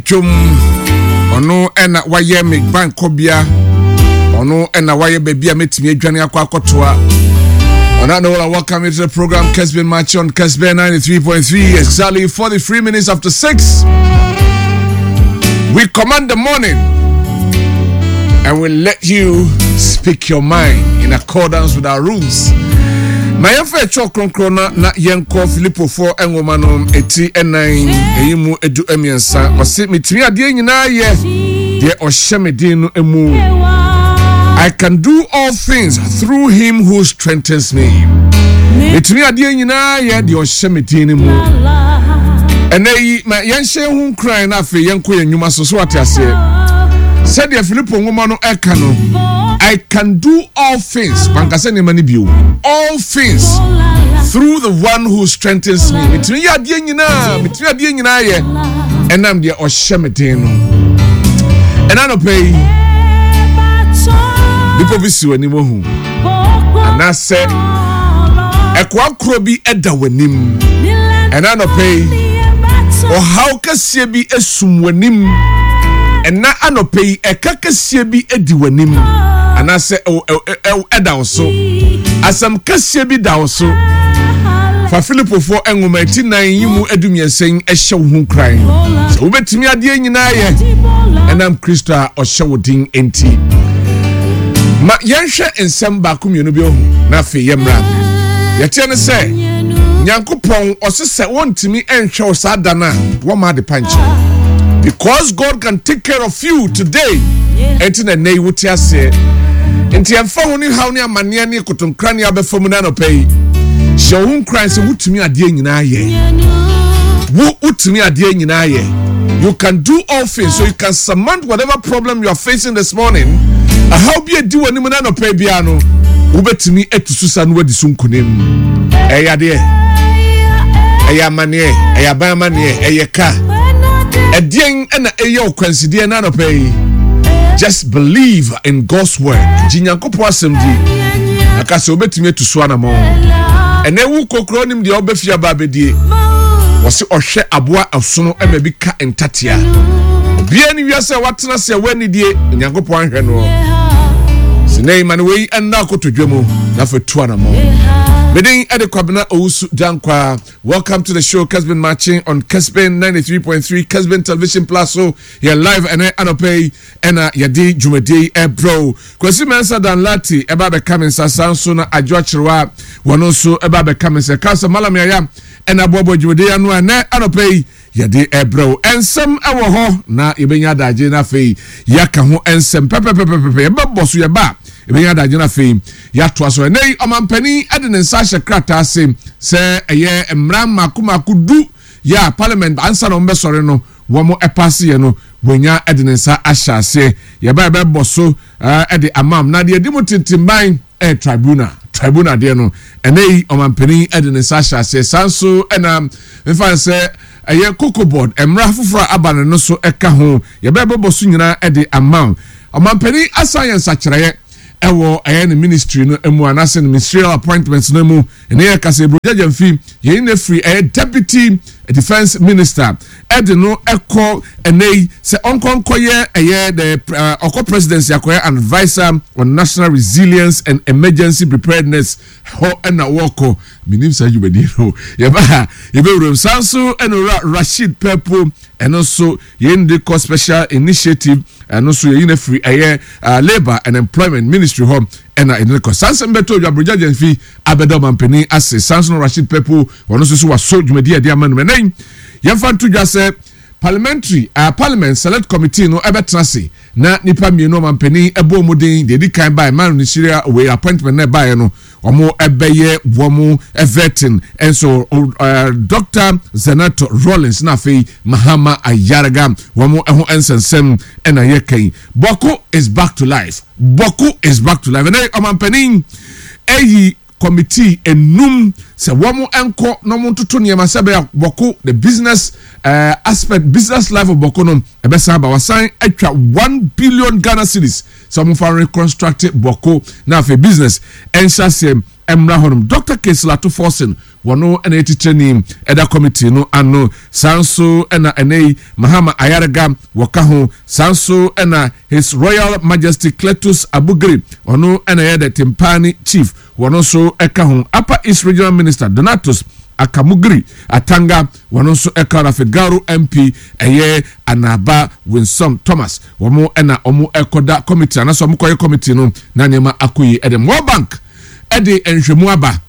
dwom. Ɔno ɛna wayɛ me bankɔbea. Ɔno ɛna wayɛ baabi a mɛtumi adwane akɔ akɔtoa. On that note, I welcome you to the program Kesben Match on Kesben 93.3, exactly 43 minutes after 6. We command the morning and we let you speak your mind in accordance with our rules. Ma yɛmfa ɛkyɛw kronkron na na yɛnkɔ Filipofoɔ nwoma no eti ɛnan ɛyi mu edu mmiɛnsa. Ɔse metumi adeɛ nyinaa yɛ deɛ ɔhyɛ me den no mu. I can do all things through him who strengthens me. Metumi adeɛ nyinaa yɛ deɛ ɔhyɛ me den no mu. Ɛnɛ yi ma yɛnhyɛ ho nkuran na afei yɛnkɔ yɛn nnwuma so so ate aseɛ. Sɛdeɛ Filipo nwoma no ɛka no, I can do all things mankasa nneɛma no bio all things through the one who strengthens me metumi yɛ adeɛ nyinaa metumi adeɛ nyinaa yɛ ɛnam deɛ ɔhyɛ me den no ɛna anɔpɛ yi bepɔ bi si w'anim ohu anaasɛ ɛkoa korɔ bi ɛda w'anim ɛna anɔpɛ yi ɔhaw kɛseɛ bi esum w'anim ɛna anɔpɛ yi ɛka kɛseɛ bi edi w'anim anaasɛ ɛda wo so asɛm kɛseɛ bi da wo so fa filipofoɔ nwoma ti nan yi mu adumiɛnsa yi hyɛ wo ho nkuran sɛ wobɛtumi adeɛ nyinaa yɛ ɛnam kristo a ɔhyɛ wo den nti ma yɛnhwɛ nsɛm baako mmienu bi ho na afei yɛmmra yɛteɛ ne sɛ nyankopɔn ɔse sɛ wɔntumi nhwɛ wo saa da no a wɔma ade pa nkyɛn because god can take care of you today ɛnti na ɛnɛ yi wote aseɛ nti ɛmfa ho ne haw ne amanneɛ ne kotonkra ne abɛfa mu no anɔpa yi hyɛ wo ho nkuran sɛ wotumi adeɛ nyinaa yɛ wo wotumi adeɛ nyinaa yɛ you can do all things so you can surmount whatever problem you are facing this morning ɛhaw bi adi w'anim no anɔpa biara no wobɛtumi atu so sa no wadi so nkonim ɛyɛ adeɛ ɛyɛ amanneɛ ɛyɛ aban amanneɛ ɛyɛ ka ɛdeɛn ɛna ɛyɛ ɔkwansideɛ no anɔpa yi just believe in God's word gye nyankopɔn asɛm di aka sɛ wobɛtumi atu so anammɔn ɛnɛ wo kokoro nim deɛ wobɛfie aba abɛdie wɔse ɔhwɛ aboa ɛsono ɛma bi ka ntatea obiara ne wiase a watena se a woanidie onyankopɔn ahwɛ noɔ sɛ ma no wei ɛnna akotodwe mu na fa tu anammɔn meden ɛde kwabena owusu dankwaa Welcome to the show, Kesben Marching on Kesben 93.3, Kesben Television Plus. So, you're live and anɔpa yi ɛna yɛde dwumadie yi ɛbrɛ wo. Kwasi Mensah Dan Lati ɛba abɛka me nsa saa nso na Adwo Akyerewa wɔn nso ɛba abɛka me nsa. Ka sɛ Malam Yaya ɛna aboaboa dwumadie yi ano a ɛnɛ anɔpa yi yɛde ɛbrɛ wo. Nsɛm ɛwɔ hɔ na yɛbɛnya adagye na afei yɛaka ho nsɛm pɛpɛpɛpɛpɛ yɛbɛbɔ so yɛba a yɛbɛnya adagye na afei yɛatoa so. Ɛnɛ yi ɔmampanin de ne nsa ahyɛ krataa ase sɛ ɛyɛ mmara mmaako mmaako du yɛ a parliament ansa na wɔbɛsɔre no wɔn ɛpaase yɛ no wɔnya de ne nsa ahyɛ aseɛ. Yɛba yɛbɛbɔ so de amam na deɛ ɛdi mu tintimban ɛyɛ tribunal tribunal deɛ no ɛnɛ yi ɔmampanin de ne nsa ahyɛ aseɛ saa nso ɛna mfa sɛ ɛyɛ cocoa board mmara foforɔ a aba no no so ɛka ho yɛbɛbɛbɔ so nyinaa de ama ɔmampanin asan yɛ nsakyerɛeɛ ɛwɔ ɛyɛ ne ministry no mu anaasɛ ne ministerial appointments no mu ɛne yɛ kasa eburo gyagya mfi yɛn na firi ɛyɛ deputy defence minister ɛde no ɛkɔ ɛnɛ yi sɛ ɔnkɔ nkɔyɛ ɛyɛ the ɔkɔ presidency akɔyɛ an adviser on national resilience and emergency preparedness hɔ ɛna wɔkɔ menim saa dwumadie no yɛba ha yɛbɛwuram saa nso ɛna owura Rasheed Pɛpo ɛno nso yɛn de kɔ special initiative ɛno nso yɛyi no afiri ɛyɛ labour and employment ministry hɔ ɛna yɛde no kɔ saa nsɛm bɛtɔ odwa Brigadier Gyamfi abɛda ɔmampanin ase saa nso no Rasheed Pɛpo ɔno nso so waso dwumadie a yɛde ama no ɛnɛ yi yɛmfa nto dwa sɛ parliamentary parliament select committee no ɛbɛtena ase na nipa mmienu ɔmampanin ɛbɔ wɔn din deɛ edi kan baeɛ man ministerial wei appointment na ɛbaeɛ no wɔn ɛbɛyɛ wɔn vetting nso Dr. Zanetor Rawlings na afei Mahama Ayariga wɔn ho nsɛnsɛm ɛna yɛ kan Bawku is back to life Bawku is back to life ɛnɛ ɔmampanin ɛyi committee enum sɛ wɔn nkɔ na wɔn ntoto nneɛma sɛ ɛbɛyɛ Bawku the business aspect business life of Bawku no ɛbɛsan aba wasan atwa 1 billion Ghana cedis sɛ wɔn fa reconstruct Bawku na afei business ɛnhyɛ aseɛ mmra hɔnom. Dr Cassiel Ato Forson. Wɔno na ɛyɛ titrani ɛda committee no ano. Saa nso na ɛnɛ yi Mahama Ayariga wɔka ho. Saa nso na His Royal Majesty Cletus Abugri, ɔno na ɛyɛ the Tempane Chief, wɔno nso ka ho. Upper East Regional Minister Donatus Akamugri Atanga, wɔno nso ka ho. Na afei Garu MP ɛyɛ Anaba Winsome Thomas, wɔn na wɔn kɔda committee anaasɛ wɔn kɔyɛ committee no na nneɛma akɔ yie. Ɛde World Bank ɛde nhwɛmu aba.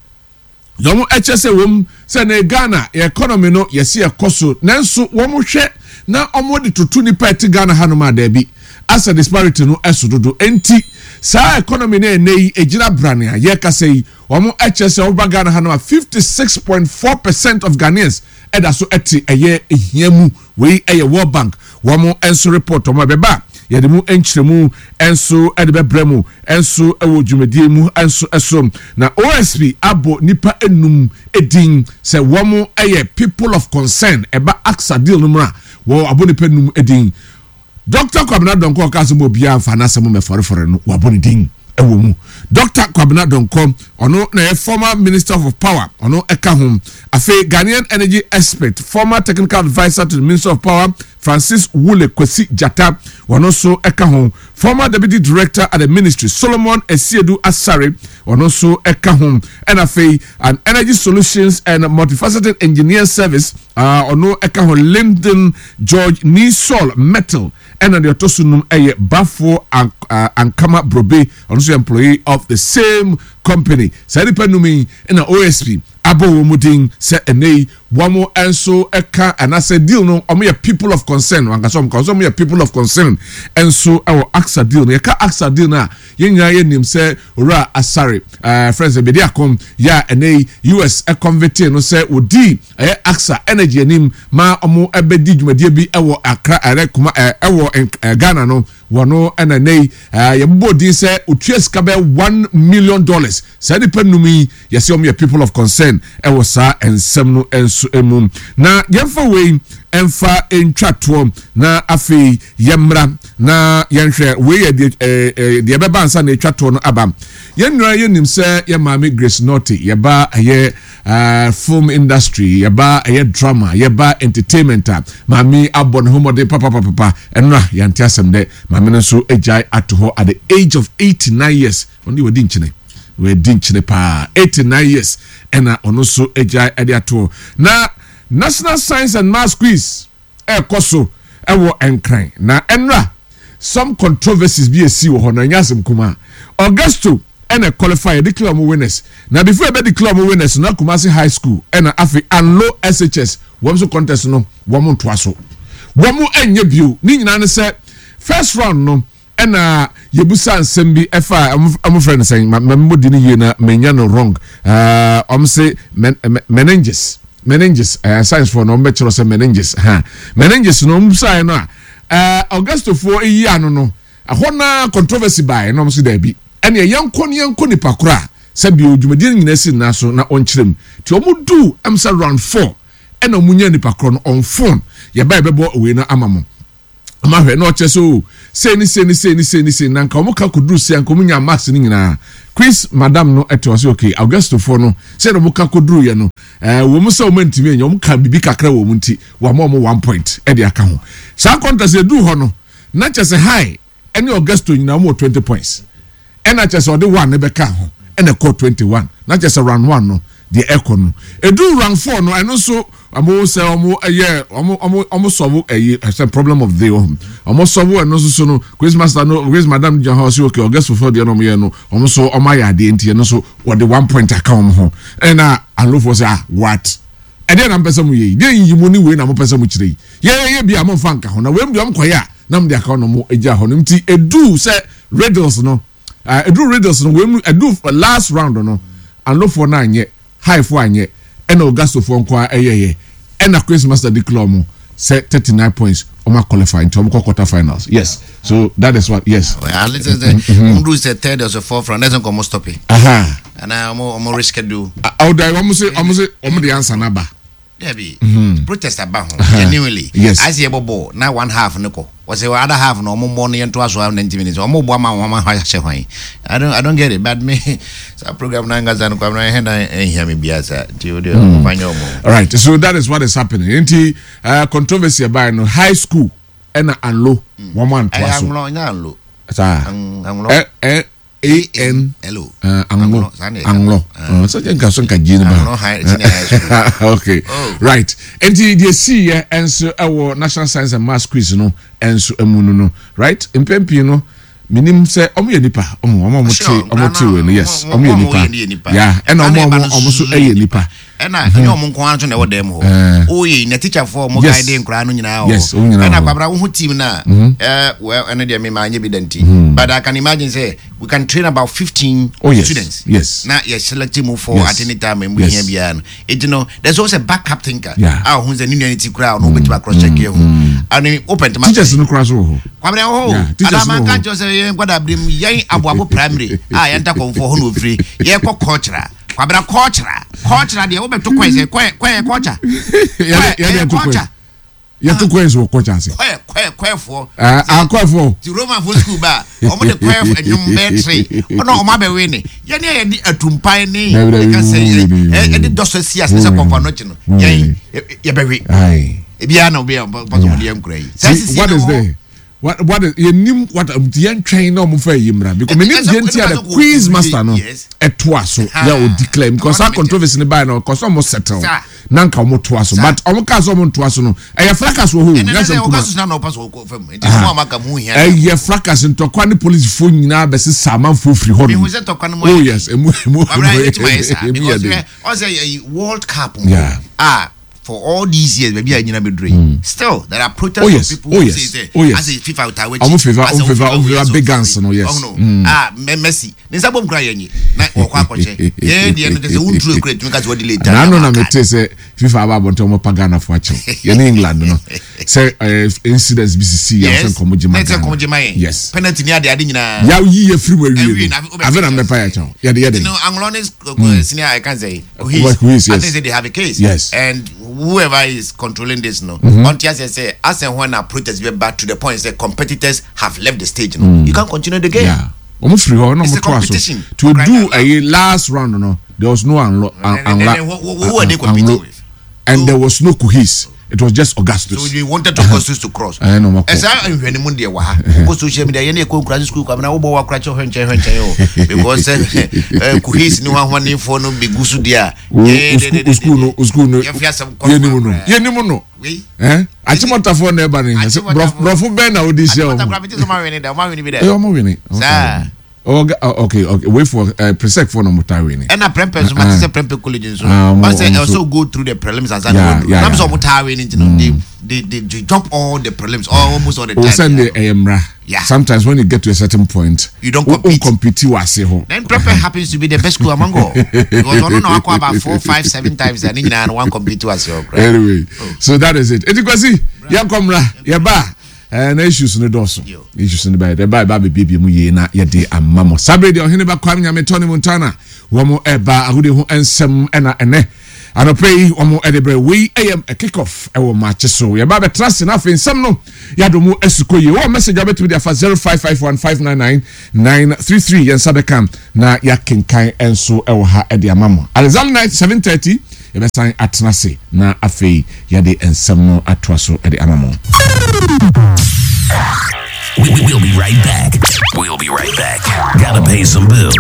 Na wɔn ɛkyɛ sɛ wɔm sɛ na Ghana yɛ economy no yɛsi ɛkɔ so nanso wɔn hwɛ na wɔn de toto nipa ɛte Ghana hanom a daabi asɛ disparity no ɛso dodo enti saa economy no ɛnɛ yi egyina brane a yɛkasa yi wɔn ɛkyɛ sɛ wɔba Ghana hanom a 56.4% of Ghanaians ɛda so ɛte ɛyɛ ehia mu. Wei yɛ World Bank wɔn nso report wɔn ɛbɛba a yɛde mu nkyerɛmu nso de bɛbrɛ mu nso wɔ dwumadie mu nso so. Na OSP abɔ nnipa enum din sɛ wɔn yɛ people of concern ɛba AXA deal no mu a wɔn abɔ nnipa enum din. Dɔkta Kwabena Donkor a ɔkaa sɛ ma obiara mfa n'asɛm mmɛfɔrefɔre no, wɔabɔ ne din wɔ mu. Dɔkta Kwabena Donkor, ɔno na ɛyɛ former Minister of Power, ɔno ka ho. Afei Ghanaian energy expert, former technical adviser to the Minister of Power, Francis Wule Kwesi Gyata, ɔno nso ka ho. Former Deputy Director at the Ministry, Solomon Asiedu Asare, ɔno nso ka ho. Ɛna afei an Energy Solutions and Multifaceted Engineer Service, ɔno ka ho, Lyndon George Nisol Metal, ɛna deɛ ɔtɔ so num yɛ Bafo Ankama Brobe, ɔno nso yɛ employee of the same company. Saa nipa num yi na OSP abɔ wɔn mu din sɛ ɛnɛ yi wɔn nso ka anaasɛ deal no wɔn yɛ people of concern, wɔn ankasa wɔn ka wɔn yɛ people of concern nso wɔ AXA deal no. Yɛka AXA deal no a, yɛn nyinaa yɛnim sɛ Owura Asare ɛɛ frɛ sɛ Bediako yɛ a ɛnɛ yi US convicte no sɛ wɔdii ɛyɛ AXA Energy anim ma wɔn ɛbɛdi dwumadie bi ɛwɔ Accra ɛrɛ kuma ɛwɔ Ghana no wɔn ɛna ɛnɛ yi yɛbobɔ din sɛ otua sika bɛyɛ $1 million. Saa nipa num yi yɛsɛ wɔn yɛ people of concern ɛwɔ saa nsɛm no nso mu. Na yɛmfa wei ɛmfa ntwa toɔ na afei yɛmmra na yɛnhwɛ wei yɛ deɛ ɛɛ deɛ ɛbɛba ansa na etwa toɔ no aba. Yɛn nyinaa yɛnim sɛ yɛ maame Grace Nortey, yɛba ɛyɛ film industry, yɛba ɛyɛ drama, yɛba entertainment a, maame abɔ ne ho mmɔden papapapa. Ɛno a yɛante asɛm dɛ maame no nso agyae ato hɔ at the age of 89 years. Ɔno deɛ wadi nkyene, wadi nkyene paa, 89 years ɛna ɔno nso agyae ɛde ato hɔ. Na National Science and Maths Quiz ɛrekɔ so ɛwɔ Nkran na ɛnora some controversies bi esi wɔ hɔ na ɛnyɛ asɛm kumaa. Augusto ɛna qualify, declare wɔn winners. Na before ɛbɛ declare wɔn winners na Kumasi High School ɛna afei Anlo SHS wɔn nso contest no wɔn ntoa so, wɔn ɛnyɛ bio. Ne nyinaa ne sɛ first round no ɛna yɛbusa nsɛm bi ɛfa ɔmo frɛ no sɛn, ma ma di no yie na menya no wrong, ɔmo se meninges, science foɔ no ɔmo bɛkyerɛ sɛ meninges ha, meninges no ɔmo busaeɛ no a Augustofoɔ eyi ano no ɛhɔ na controversy baeɛ na ɔmo se daabi, ɛnna yɛnkɔ ne yɛnkɔ nipa koro a sɛbi dwumadie no nyinaa si nna so na ɔnkyerɛ mu. Nti ɔmo du ɛm sɛ round four ɛna ɔmo nya nipa korɔ no on phone, yɛba yɛbɛbɔ wei no ama mo ɔmo ahwɛ na ɔkyerɛ sɛ o sei ne sei ne sei ne sei ne sei na nka ɔmo ka koduru sei nka ɔmo nya marks no nyinaa. Quiz madam no ɛte ɔsɛ okay, Augustofoɔ no sɛ na ɔmo ka koduru yɛ no wɔn sɛ ɔmo ntumi anya, ɔmo ka bibi kakra wɔ ɔmo nti wɔn ama ɔmo 1 point ɛde aka ho. Saa contest eduru hɔ no na kyerɛ sɛ High ɛne Augusto nyinaa ɔmo wɔ 20 points, ɛna kyerɛ sɛ ɔde one ne bɛka ho ɛna ɛkɔ 21. Na kyerɛ sɛ round one no deɛ ɛkɔ no eduru round four no, ɛno nso ɔmo sɛ ɔmo ɛyɛ ɔmo solve ɛyi ɛsɛ problem of the ɔmo solve. Ɛno nso so no quiz master no, quiz madam gyina hɔ ɔsɛ okay, Augusto foɔ deɛ no ɔmo yɛ no ɔmo nso ɔmo ayɛ adeɛ nti ɛno nso wɔde 1 point aka wɔn ho. Ɛna Anlofoɔ sɛ, "Ah, what? Ɛdeɛ na mpɛ sɛ mo yɛ yi deɛ yiyi mu ne wei na mo pɛ sɛ mo kyerɛ yi yɛyɛ yɛ bi a mo nfa nka ho na wei mu deɛ ɔmo kɔ yɛ a na mo de aka ho na mo gya hɔ no." Nti edu sɛ riddles no, edu riddles no wei mu edu last round no, Anlofoɔ no anyɛ, Highfoɔ anyɛ, ɛna Augustofoɔ nko ara ɛyɛyɛ, ɛna quiz master declare ɔmo sɛ 39 points ɔmo qualify nti ɔmo kɔ quarter finals. Yes, so that is what, yes. At least ɔmo do sɛ third or fourth round ɛsɛ nka ɔmo stop it. Ana ɔmo reschedule. Ɔda ɔmo se ɔmo de answer n'aba. Dabi, protest aba ho genuinely. Yes. Ayɛ sɛ yɛbɔ bɔɔl na one half no kɔ. Wɔsɛ other half no ɔmo mmɔ no yɛntoa so 90 minutes. Ɔmo bɔ ama wɔn ahyɛ hwan. I don't get it, but me saa program no ankasa no, Kwamina, ɛhɛn na ɛnhia me biara saa. Nti o de ɔmo fa nyɛ ɔmo. All right, so that is what is happening. Nti controversy ɛbaa no, high school ɛna Anlo wɔn antoa Ɛyɛ so. Anlo, ɛnyɛ Anlo. Saa. Anlo. Ɛ ɛ A N. Hello. Anlo. Saa na yɛka. Anlo. Sɛ kyɛ nka so nka gye ne ba. Anlo High Senior High School. Okay. Oh. Right. Nti deɛ sii yɛ nso ɛwɔ National Science and Maths Quiz no nso mu no, right, mpɛn pii no minim sɛ ɔmo yɛ nipa, ɔmo a ɔmo te ɔmo te wɔ no, yes, ɔmo yɛ nipa ya, ɛna ɔmo a ɔmo nso ɛyɛ nipa. Ɛna ɛnyɛ ɔmo nko ara nso na ɛwɔ dan mu hɔ. Oye, na teacherfoɔ ɔmo guide nkwaraa no nyinaa wɔ Yes, ɔmo nyinaa ɛna wɔ hɔ. Kwabra, wohu team na well, ɛno deɛ mema anyɛ bi da nti, but I can imagine sɛ we can train about 15 students na yɛ select mu for at any time mu hia biara no. Eti no, there's always a backup thinker a ɔho sɛ ne nua ne ti koraa, ɔno wobɛtumi across check yɛ ho ane wopɛ ntoma. Teachers no koraa so wɔ hɔ. Kwabra, wɔ hɔ Yeah, o. Teachers Adama no wɔ nka hɔ. nkyerɛ sɛ yɛn nkwadaa bere mu, yɛn Aboabo Primary a yɛnta kɔnfoɔ hɔ na ofiri yɛkɔ cultural. Kwabra, cultural, cultural deɛ, wobɛto kɔɛ sɛ kɔɛ kɔɛ culture. Yɛde ɛyɛ ɛto kɔɛ culture. Yɛto coins wɔ kɔkya ase. Kɔɛ kɔɛ kɔɛfoɔ. Akɔɛfoɔ. Ti Romanfoɔ school ba a, wɔn de kɔɛ nnwom bɛɛ tere ɔna wɔn abɛwe ne yɛn ne yɛde atumpan ne Dabi, dabi, ɛka sɛ dabi, dabi. ɛde dɔsɔ si ase sɛ kɔnfa no akyi no, yɛn yɛbɛwe ebiara na obi a ɔpɛ sɛ ɔde yɛn nkura yi. Saa See, sisi what na is wɔ hɔ. there? What is yɛnim what yɛn twɛn na ɔmo fɛ yi mra because menim deɛ nti a the quiz master no ɛtoa so yɛ o declare because saa controversy ne baa no kɔsɔ ɔmo settle na nka ɔmo toa so, but ɔmo kaa sɛ ɔmo ntoa so no, ɛyɛ fracas wɔ hɔ o. Ɛnɛ nyasɛm sɛ kuma ɔka soso na ɔpa so ɔkɔ fam nti mo a maka mo hia. Ɛyɛ fracas, ntɔkwa ne polisifoɔ nyinaa bɛsesa amanfoɔ firi hɔ nom. Mihu sɛ tɔkwa no mu Oh ayɛ. yes, emu emu Wabra emu yɛ tuma yɛ saa emu yɛ because den. hwɛ, ɔsɛ ɛyi World Cup mu a, for all these years, baabi a nyina bɛduru yi, still there are protests Oh, of people oh, who say sɛ oh, yes. asɛ FIFA ta w'akyi. Ɔmo FIFA, asɛ ɔmo FIFA, ɔmo wei, FIFA asɛ big ɔmo guns no, yes. Ɔmo no ah Messi ne nsa bom kura yɛn nyi na wɔkɔ akɔhyɛ yɛn deɛ no kyɛ sɛ wonturu ekura etumi ka sɛ wɔde late. N'ano na mete sɛ FIFA aba abɔnten, ɔmo pa Ghana fo akyɛw, yɛne England no sɛ incidents bi sisi yɛn sɛ nkɔmɔ gyema na ɛsɛ Ghana. nkɔmɔ gyema yɛn penalty ni ade ade nyinaa. Yaw yi yɛ firi mu awie Awie no na afe na mbɛpa yɛ kyɛw yɛde. You know, Anglon is senior. I can say Kuhis, Kuhis. I yes. think say they have a case. And whoever is controlling this, no, until say, as and when a protest be back to the point, say competitors have left the stage, no, you can't continue the game. Yeah, ɔmo firi hɔ na It's ɔmo a toa so competition. to Crying do out loud. ɛyi last round no, there was no Anlo. And then who are they competing Anlo with? And So- there was no Kuhis, it was just Augustus. So you wanted Augustus to cross. Ɛn na ɔmo kɔ. Ɛsɛ nhwɛ ne mu deɛ wɔ ha. Wokɔ social media, yɛn ne yɛkɔ nkura school, kwamina wobɔ wa kora kyɛ hwɛ nkyɛn hwɛ nkyɛn o. Because ɛ Kuhis ne hwahwanefoɔ no bɛgu so deɛ a. O school no, o school no. Yɛfi asɛm kɔ. Yɛnim no, yɛnim no. Wei. Ɛn Achimɔtafoɔ na ɛba ne sɛ Achimɔtafoɔ. Borɔfo bɛn na odi hyɛ Achimota ɔmo. kora mete sɛ ɔmo awene da, ɔmo awene bi dɛ. Ɛyɛ ɔmo wini. Saa. Oh, okay. Wait for Presec for no mo ta wini. Ɛna Prempeh nso, mate sɛ Prempeh College nso Ah, ɔsɛ ɔmo ɛsɛ go through the prelims ansa na wɔduru nam sɛ ɔmo taa wei ne nti no, they jump all the prelims almost all the O time. send the ɛyɛ mmra. Sometimes when you get to a certain point, You don't wo- compete. Compete wɔ ase hɔ. Then Prempeh happens to be the best school among all because ɔno na wakɔ about four, five, seven times and ne nyinaa no one compete to ase hɔ koraa. Anyway, so that is it. Eti Kwasi, yɛn kɔ mmra, yɛ ba. Na issues no dɔɔso. Yo. Issues no ba yɛ ba ba bebiebie mu yie na yɛde ama mo. Sabere deɛ ɔhene ba Kwame Nyame Tony Montana wɔn ɛba agodie ho nsɛm ɛna ɛnɛ anɔpɛ yi wɔn ɛde brɛ. Wei ɛyɛ a kick off ɛwɔ maakye so. Yɛba abɛtena ase na afei nsɛm no yɛadɔ mu asukɔ yie. Wɔn message a wobɛtumi de afa 0551599933, yɛn nsa bɛka na yɛakenkan nso ɛwɔ ha ɛde ama mo. Alexander night 7:30 yɛbɛsan atena ase na afei yɛde nsɛm no atoa so ɛde ama mo. We'll be right back. We'll be right back. Gotta pay some bills.